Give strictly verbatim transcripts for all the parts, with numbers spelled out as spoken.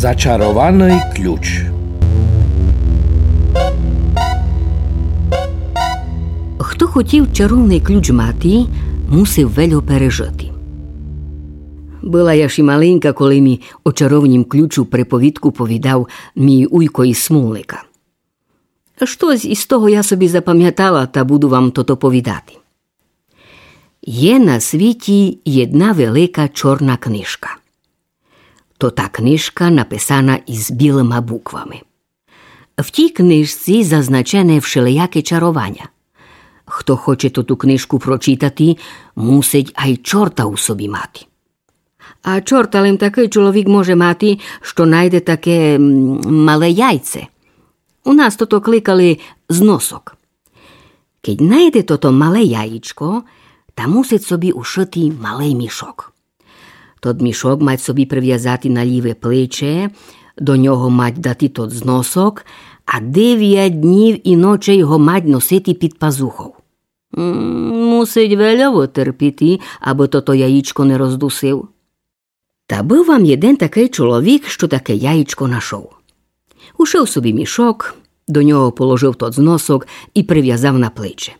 Зачарованый ключ. Хто хотів чаровный ключ мати, мусив вельо пережыти. Была я ще маленька, коли ми о чаровнім ключу приповідку повідав мій уйко из Смолника. Штось из того я собі запамятала, та буду вам тото повідати. Є на світі єдна велика чорна книжка. То та книжка написана из білыма буквами. В тій книжці зазначене вшелияке чарованя. Хто хоче тоту книжку прочитати, мусить ай чорта у собі мати. А чорта лем такый чоловік може мати, што найде таке, м, мале яйце. У нас тото кликали зносок. Кедь найде тото мале яєчко, та мусить собі ушыти малый мішок. Тот мішок мать собі привязати на ліве плече, до нього мать дати тот зносок, а девять днів и ночей го мать носити під пазухов. М, мусить вельо вытерпіти, абы тото яєчко не роздусив. Та быв вам єден такый чоловік, што таке яєчко нашов. Ушыв собі мішок, до нього положыв тот зносок и привязав на плече.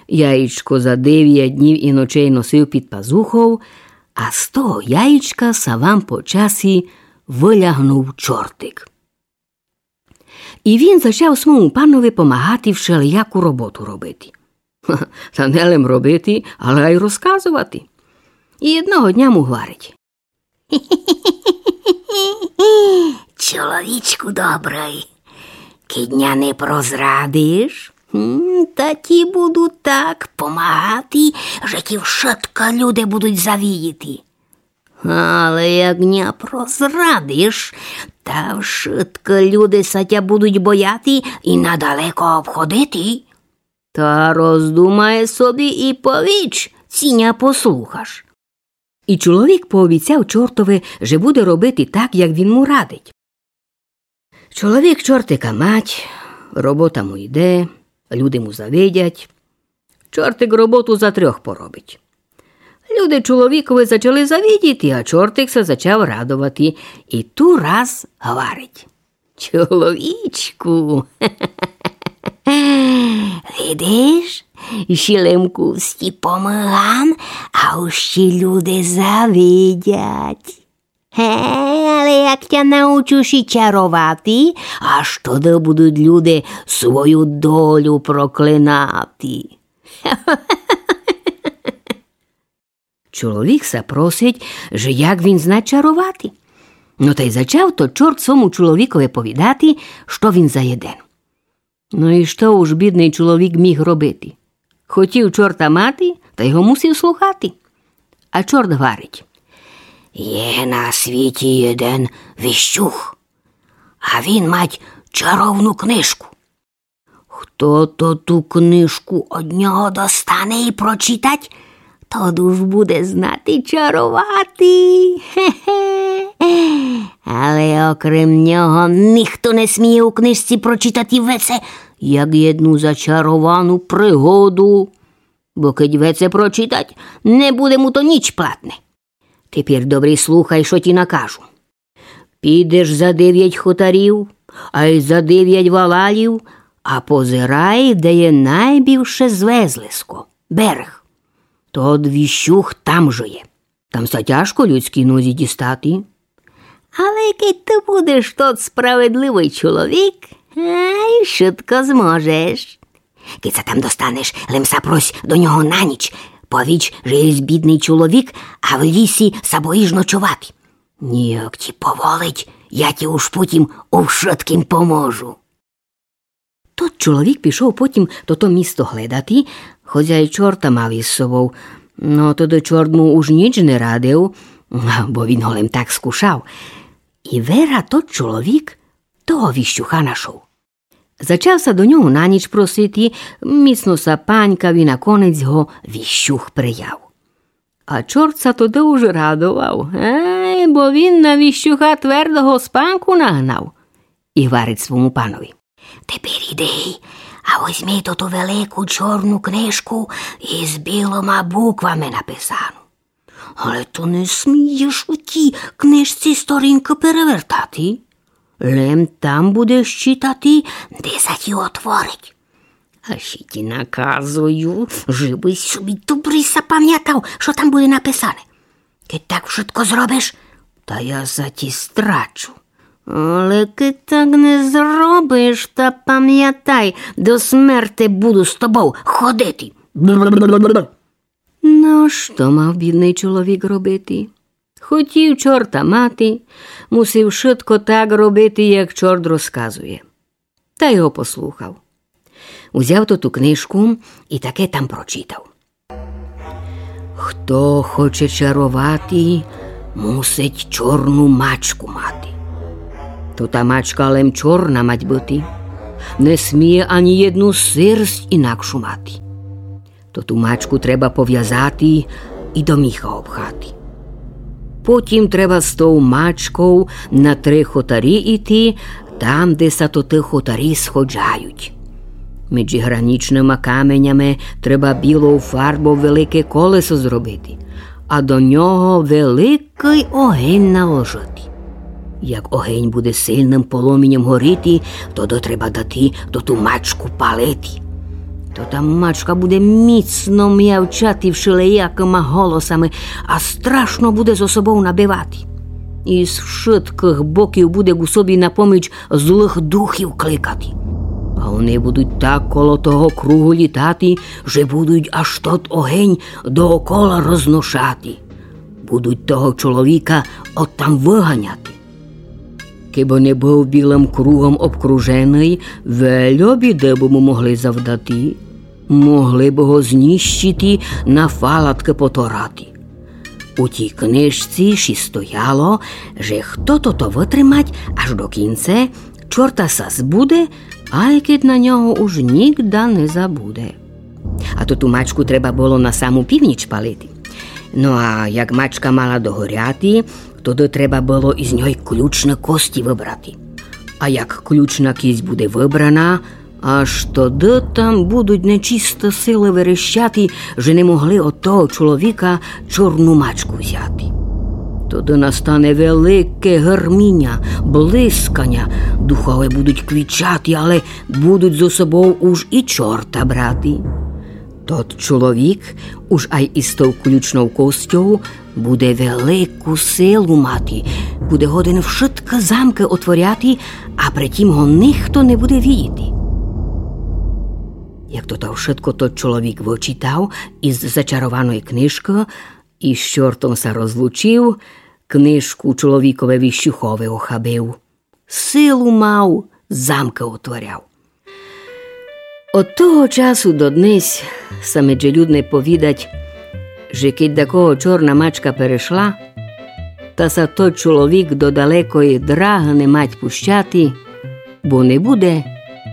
Яєчко за девять днів и ночей носив під пазухов, а з того яєчка са вам по часі вылягнув чортик. И він зачав свому панови помагати вшелияку роботу робити. Та не лем робити, але ай розказовати. И єдного дня му гварить: Чоловічку добрый, кедь ня не прозрадиш, м, та ті буду так помагати, же ті вшытко люде будуть завидіти. Але як ня прозрадиш, та вшытко люде са тя будуть бояти и надалеко обходити. Та роздумай собі и повіч, ци ня послухаш. И чоловік пообіцяв чортови, же буде робити так, як він му радить. Чоловік чортика мать, робота му йде, люди му завидять. Чортик роботу за трьох поробить. Люди чоловікови зачали завидіти, а чортик ся зачав радовати. И ту раз гварить: Чоловічку, видиш, ще лем кусті помагам, а уж ті люди завидять. Гей, але як тя научу ще чаровати, аж тогды будуть люди свою долю проклинати. Чоловік ся просить, же як він зна чаровати. Но тай зачав тот чорт свому чоловікови повідати, што він за єден. Но и што уж бідный чоловік міг робити? Хотів чорта мати, тай го мусив слухати. А чорт гварить: Є на світі єден віщух, а він мать чаровну книжку. Хто тоту книжку од нього достане и прочитать, тот уж буде знати чаровати. Хе-хе. Але окрем нього нихто не сміє у книжці прочитати веце, як єдну зачаровану пригоду. Бо кедь веце прочитать, не буде му то ніч платне. Тепер добрі слухай, што ті накажу. Підеш за девять хотарів, ай за девять валалів, а позирай, де є найбільше звезлиско, берег. Тот віщух там жиє. Там ся тяжко людській нозі дістати. Але кедь ты будеш тот справедливый чоловік, ай, швидко зможеш. Кедь ся там достанеш, лем ся прос до нього на ніч. Повіч, же єсь бідный чоловік, а в лісі ся боїш ночовати. Ніяк ті поволить, я ті уж потім у вшыткім поможу. Тот чоловік пішов потім тото місто гледати, хоц ай чорта мав из собов. Но тогды чорт му уж ніч не радив, бо він го лем так скушав. И вера тот чоловік того віщуха нашов. Зачав ся до нього на ніч просити, міцно ся панькав и наконець го віщух прияв. А чорт ся тогды уж радовав, гей, бо він на віщуха твердого спанку нагнав. И гварить свому панови: Тепер иди, а возьми тоту велику чорну книжку из білыма буквами написану. Але то не смієш у тій книжці сторінкы перевертати. Лем там будеш читати, де ся ті отворить. А ще ті наказую, жебысь собі добрі запамятав, што там буде написане. Кедь так вшытко зробиш, та я ся ті страчу. Але кедь так не зробиш, та памятай, до смерти буду з тобов ходити. Но, што мав бідный чоловік робити? Хотів чорта мати, мусив вшытко так робити, як чорт розказує. Та й го послухав. Узяв тоту книжку і таке там прочитав: Хто хоче чаровати, мусить чорну мачку мати. Тота мачка лем чорна мать быти. Не сміє ані єдну серсть інакшу мати. Тоту мачку треба повязати і до міха обхати. Потім треба з тов мачков на три хотарі іти, там, де ся тоты хотарі сходжають. Меджі гранічныма каменями треба білов фарбов велике колесо зробити, а до нього великый огень наложити. Як огень буде сильным полуміньом горіти, тогды треба дати тоту мачку палити. Тота мачка буде міцно мявчати вшелиякыма голосами, а страшно буде зо собов набивати. І з вшыткых боків буде ку собі на поміч злых духів кликати. А они будуть так коло того кругу літати, же будуть аж тот огень доокола розношати. Будуть того чоловіка оттам выганяти. Кебы не быв білым кругом обкруженый, вельо біды бы му могли завдати. Могли бы го знищити, на фалаткы поторати. У тій книжці ші стояло, же хто тото вытримать аж до кінце, чорта ся збуде, ай кедь на нього уж нігда не забуде. А тоту мачку треба было на саму північ палити. Но а як мачка мала догоряти, тогды треба было из ньой ключны кості выбрати. А як ключна кість буде выбрана, аж тогды там будуть нечисты силы верещати, же не могли од того чоловіка чорну мачку взяти. Тогды настане велике гырміня, блисканя, духове будуть квічати, але будуть зо собов уж і чорта брати. Тот чоловік уж ай из тов ключнов костьов буде велику силу мати, буде годен вшыткы замкы отворяти, а при тім го нихто не буде видіти. Як тото вшытко тот чоловік вычитав из зачарованої книжкы, из чортом ся розлучив, книжку чоловіковеви щухове охабив. Силу мав, замкы отворяв. Од того часу до днесь ся меджелюдне повідать, же кедь дакого чорна мачка перешла, та ся тот чоловік до далекої драгы не мать пущати, бо не буде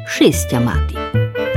шестя мати.